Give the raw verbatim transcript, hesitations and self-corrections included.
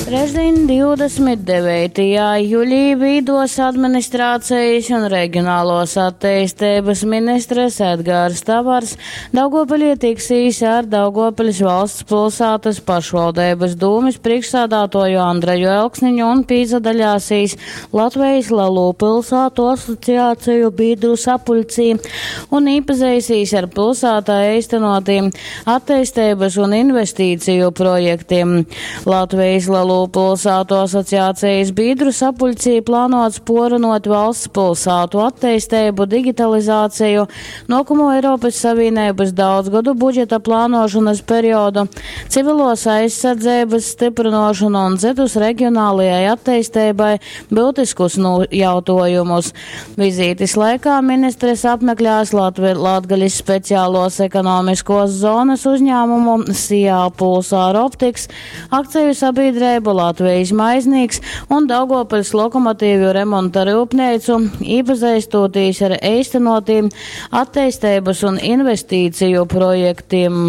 Trešdiņ, divdesmit deveitajā juļī, Vīduos administrācijas un regionālos atteisteibys ministres Edgars Tavars Daugavpilī tiksīs ar Daugavpils valsts pilsātas pašvaldeibys dūmis priekšsādātoju Andreju Elksniņu un pīzadaļāsīs Latvejis lelū pilsātu asociāciju bīdru sapuļcī un īpazeisīs ar pilsātā eistenotīm atteisteibys un investīciju projektiem. Latvejis lelū pilsātu asociācijas bīdru sapuļcī plānots porunot valsts pilsātu atteisteibu, digitalizāciju, nākamo Eiropas Savienības daudzgadu budžeta plānošanas periodu, civilos aizsardzības stiprinošanu un citus regionālajai atteistībai būtiskus nu jautājumus. Vizītes laikā ministres apmeklēs Latvi Latgalis speciālos ekonomiskos zonas uzņēmumu SIA Pulsar Optics, akciju sabiedrību Latvijas maiznīks un Daugavpils lokomotīvju remonta rūpneicu, iepazīstoties ar īstenotīm attīstības un investīciju projektiem.